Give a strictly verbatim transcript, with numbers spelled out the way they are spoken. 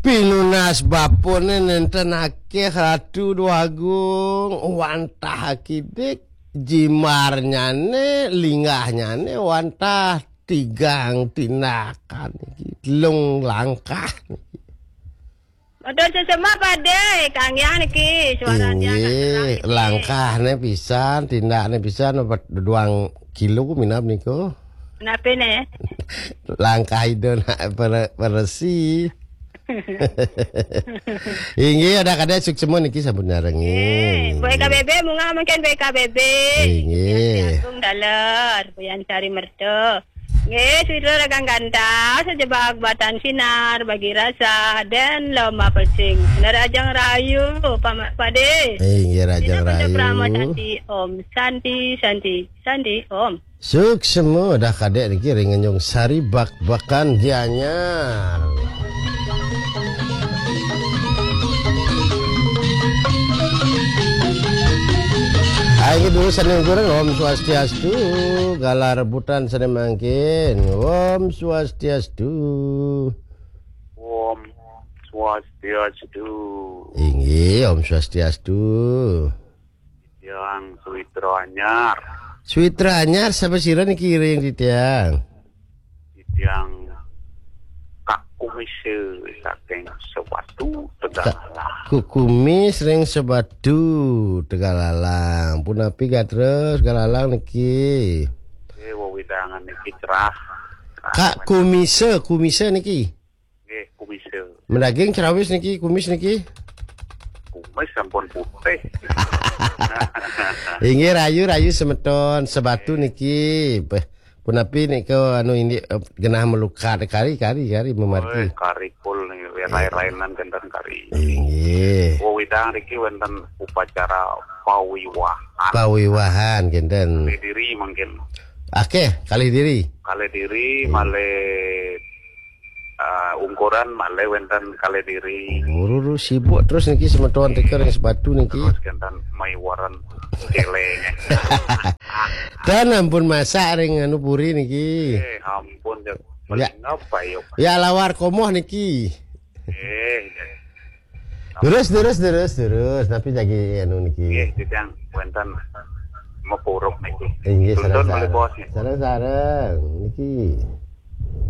Pinunas bapane nenten akeh Ratu Déwa Agung, wantah akidik, jimarnyane, linggahnyané wantah tigang tindakan niki, telung langkah niki. Matur suksma, Pade, kanggéang niki, suaranya agak terang niki. Langkahné pisan, tindakné pisan, duang kilo minab niku. Napi né? Langkah Ida nak pere-, peresi. Inggih, Dah Kadék suksma niki sampun nyarengin. Eh, B K B B, munggah mangkin B K B B. Inggih. Agung Daler, Buyan Sari Merta. Nggih, sira rekan gantah, sejebak batan sinar, bagi rasa, dan lomba pecing. Rahajeng rahayu, Pak Ma-, Pade. Inggih, rahajeng rahayu. Santi, Om Santi, Santi, Santi, Om. Suksma Dah Kadék niki ring Tanjung Sari Bakbakan Gianyar. Ayo dulu sané kurang, Om Swastiastu, galah rebutan sané mangkin. Om Swastiastu. Om Swastiastu. Inggih, Om Swastiastu. Titiang Suwitra Anyar. Suwitra Anyar, sapa sira niki ring titiang? Titiang Kak Kumise saking Sebatu, Kak Tegallalang. Kukumis ring Sebatu, Tegallalang. Punapi gatra Tegallalang niki? Eh, wewidangan niki cerah. Kak Kumise, Kumise niki? Nggih, Kumise. Madaging crawis niki, kumis niki? Kumis sampun putih. Inggih, rahayu, rahayu semeton Sebatu niki. Beh, punapi nika anu indik, eh, genah malukat kari, kari, kari mamargi. Oi, kari kul niki, rai-rainan kenten kari. Inggih. Wewidangan niki wénten upacara pawiwahan. Pawiwahan kenten. Kalih diri mangkin. Akeh, kalih diri. Kalih diri, hmm, malih, eh, ungkuran malih wénten kalih diri. Buru sibuk terus niki semeton tika ring Sebatu niki. Terus kenten maiwaran céléng. Tan ampun masak ring anu puri niki. Eh, ampun, ya. Ya. Paling apa, yuk? Ya, lawar komoh niki. Eh, ya. Terus, terus, terus, terus. Tapi lagi anu niki. Nggih, titiang wénten mapuruk niki. Inggih, tuntun sareng-sareng. Malih bos niki. Sareng-sareng niki.